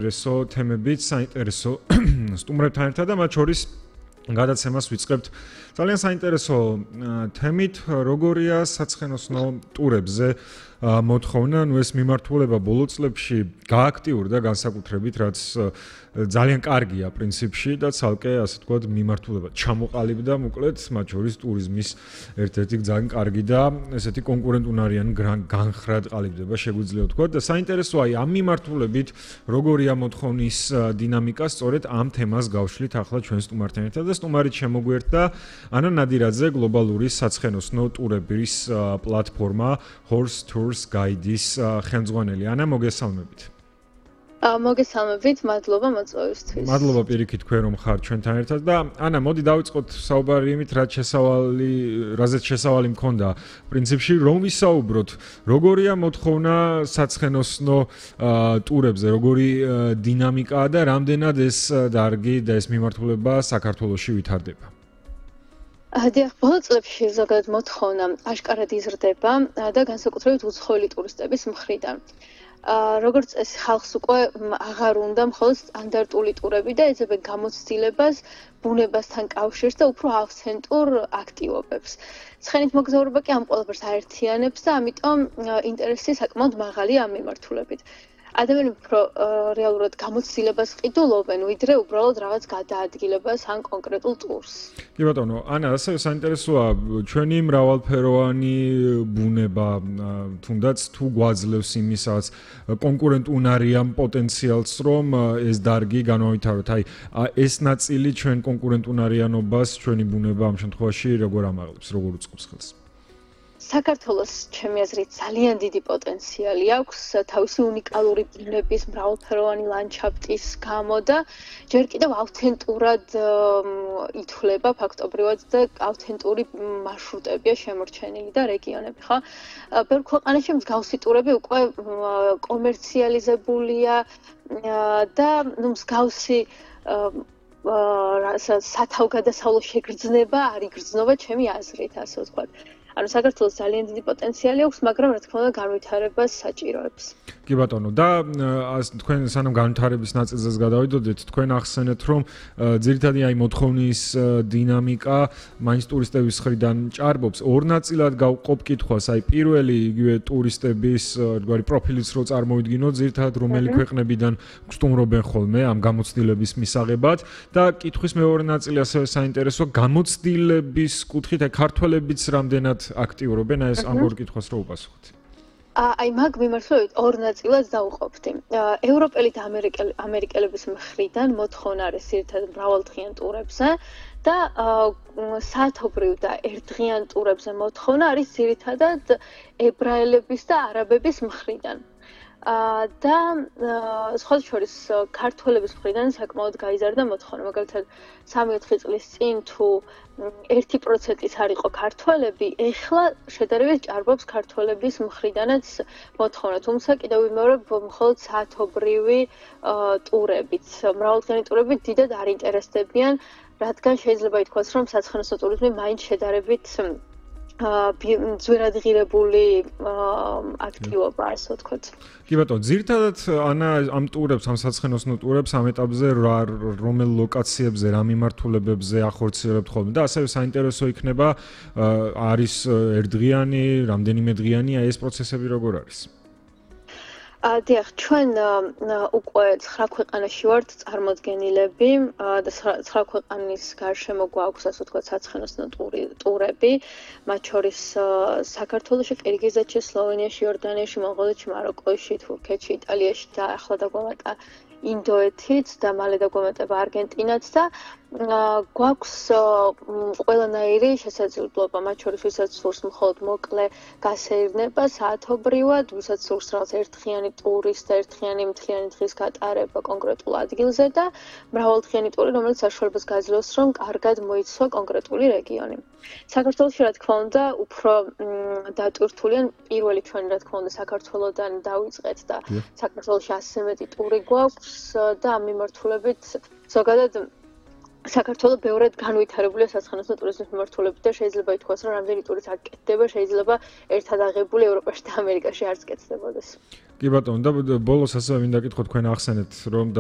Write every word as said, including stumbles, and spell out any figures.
საინტერესო თემებით, საინტერესო სტუმრებთან ერთად და მათ შორის გადაცემას ვიწყებთ ძალიან საინტერესო თემით, როგორია საცხენოსნო ტურებზე მოთხოვნა, ნუ ეს მიმართულება ბოლო წლებში გააქტიურდა განსაკუთრებით, რაც ძალიან კარგია პრინციპში და ცალკე ასე ვთქვათ მიმართულება ჩამოყალიბდა, მოკლედ მათ შორის ტურიზმის ერთ-ერთი ძალიან კარგი და ესეთი კონკურენტუნარიანი განხრად ყალიბდება შეგვიძლია ვთქვათ და საინტერესოა აი ამ მიმართულებით როგორია მოთხოვნის დინამიკა, სწორედ ამ თემას გავშლით ახლა ჩვენ სტუმართან ერთად და სტუმარით შემოგვერთა ანა ნადირაძე, გლობალური საცხენოსნო ტურების პლატფორმა Horse Tours Guide-ის ხელმძღვანელი. ანა, მოგესალმებით. მოგესალმებით, მადლობა მოწვევისთვის. მადლობა პირიქით თქვენ რომ ხართ ჩვენთან ერთად და ანა, მოდი დავიწყოთ საუბარი იმით, რაც შესავალი, რაზეც შესავალი მქონდა. პრინციპში რომ ვისაუბროთ, როგორია მოთხოვნა საცხენოსნო ტურებზე, როგორი დინამიკაა და რამდენად ეს დარგი და ეს მიმართულება საქართველოში ვითარდება. დიახ, ბოლო წლებში ზოგადად მოთხოვნა აშკარად იზრდება და განსაკუთრებით უცხოელი ტურისტების მხრიდან. როგორც წესი ხალხს უკვე აღარ უნდა მხოლოდ სტანდარტული ტურები და ეძებენ გამოცდილებას, ბუნებასთან კავშირს და უფრო ავთენტურ აქტივობებს. ცხენით მოგზაურობა კი ამ ყველაფერს აერთიანებს და ამიტომ ინტერესი საკმაოდ მაღალია ამ მიმართულებით. ადამიანები უფრო რეალურად გამოცდილებას ყიდულობენ, ვიდრე უბრალოდ რაღაც გადაადგილებას ან კონკრეტულ ტურს. კი ბატონო, ანა, ასევე საინტერესოა ჩვენი მრავალფეროვანი ბუნება, თუნდაც თუ გვაძლევს იმისაც კონკურენტუნარიან პოტენციალს, რომ ეს დარგი განავითაროთ. აი, ეს ნაწილი ჩვენ კონკურენტუნარიანობას, ჩვენი ბუნება ამ შემთხვევაში როგორ ამაღლებს, როგორ უწყობს ხელს? საქართველოს ჩემი აზრით ძალიან დიდი პოტენციალი აქვს თავისი უნიკალური ბუნების, მრავალფეროვანი ლანდშაფტის გამო და ჯერ კიდევ ავთენტურად ითვლება ფაქტობრივად და ავთენტური მარშრუტებია შემორჩენილი და რეგიონები, ხო? ბევრ ქვეყანაში მსგავსი ტურები უკვე კომერციალიზებულია და ნუ მსგავსი სათავგადასავლო შეგრძნება არ იგრძნობა ჩემი აზრით, ასე ვთქვათ. ანუ საქართველოს ძალიან დიდი პოტენციალი აქვს, მაგრამ რა თქმა უნდა განვითარებას საჭიროებს. კი ბატონო, და თქვენ სანამ განვითარების ნაწილზეც გადავიდოდეთ, თქვენ ახსენეთ, რომ ძირითადად აი მოთხოვნის დინამიკა მაინც ტურისტების მხრიდან ჭარბობს. ორ ნაწილად გავყოფ კითხვას, აი პირველი იგივე ტურისტების რგვარი პროფილიც რო წარმოვიდგინოთ, ძირითადად რომელი ქვეყნებიდან გსტუმრობენ ხოლმე ამ გამოცდილების მისაღებად და კითხვის მეორე ნაწილი ასევე საინტერესო გამოცდილების კუთხით, აი ქართველებიც რამდენად აქტიურობენ ეს ამ ორ კითხვას რო უპასუხოთ. აი მაგ მიმართულებით ორ ნაწილად დავუყოფდი. ევროპელი და ამერიკელების მხრიდან მოთხოვნა არის ძირითადად მრავალდღიან ტურებზე და საათობრივ და ერთდღიან ტურებზე მოთხოვნა არის ძირითადად ებრაელების და არაბების მხრიდან. და სხვათა შორის ქართველების მხრიდან საკმაოდ გაიზარდა მოთხოვნა. მაგალითად სამი-ოთხი წლის წინ თუ ერთი პროცენტიც არ იყო ქართველები, ეხლა შედარებით ჭარბობს ქართველების მხრიდანაც მოთხოვნა. თუმცა კიდევ ვიმეორებ მხოლოდ საათობრივი ტურებით. მრავალდღიანი ტურებით დიდად არ ინტერესდებიან, რადგან შეიძლება ითქვას, რომ საცხენოსნო ტურიზმი მაინც შედარებით ძვირადღირებული აქტივობა, ასე ვთქვათ. კი ბატონო, ძირითადად ანა ამ ტურებს, ამ საცხენოსნო ტურებს ამ ეტაპზე რომელ ლოკაციებზე, რა მიმართულებებზე ახორციელებთ ხოლმე და ასევე საინტერესო იქნება არის ერთდღიანი, რამდენიმე დღიანი, აი ეს პროცესები როგორ არის? დიახ, ჩვენ უკვე ცხრა ქვეყანაში ვართ წარმოდგენილები და ცხრა ქვეყანის გარშემო გვაქვს, ასე ვთქვათ, საცხენოსნო ტურები, მათ შორის საქართველოში, ყირგიზეთში, სლოვენიაში, იორდანიაში, მონღოლეთში, მაროკოში, თურქეთში, იტალიაში და ახლა დაგვამატა ინდოეთიც და მალე დაგვამატება არგენტინაც და გვაქვს ყველანაირი შესაძლებლობა, მათ შორის ვისაც სურს მხოლოდ მოკლე გასეირნება საათობრივად, ვისაც სურს რაღაც ერთდღიანი ტურის და ერთდღიანი მთლიანი დღის გატარება კონკრეტულ ადგილზე და მრავალდღიანი ტური, რომელიც საშუალებას გაძლევს, რომ კარგად მოიცვა კონკრეტული რეგიონი. საქართველოში, რა თქმა უნდა, უფრო დატვირთული, პირველი ჩვენი, რა თქმა უნდა, საქართველოდან დავიწყეთ და საქართველოში ასზე მეტი ტური გვაქვს და ამ მიმართულებით ზოგადად საქართველო ბევრად განვითარებულია საცხენოსნო ტურიზმის მიმართულებით და შეიძლება ითქვას, რომ რამდენი ტურიც აქ კეთდება, შეიძლება ერთად აღებული ევროპაში და ამერიკაში არც კეთდებოდეს. კი ბატონო, და ბოლოს ასევე მინდა გითხო თქვენ ახსენეთ, რომ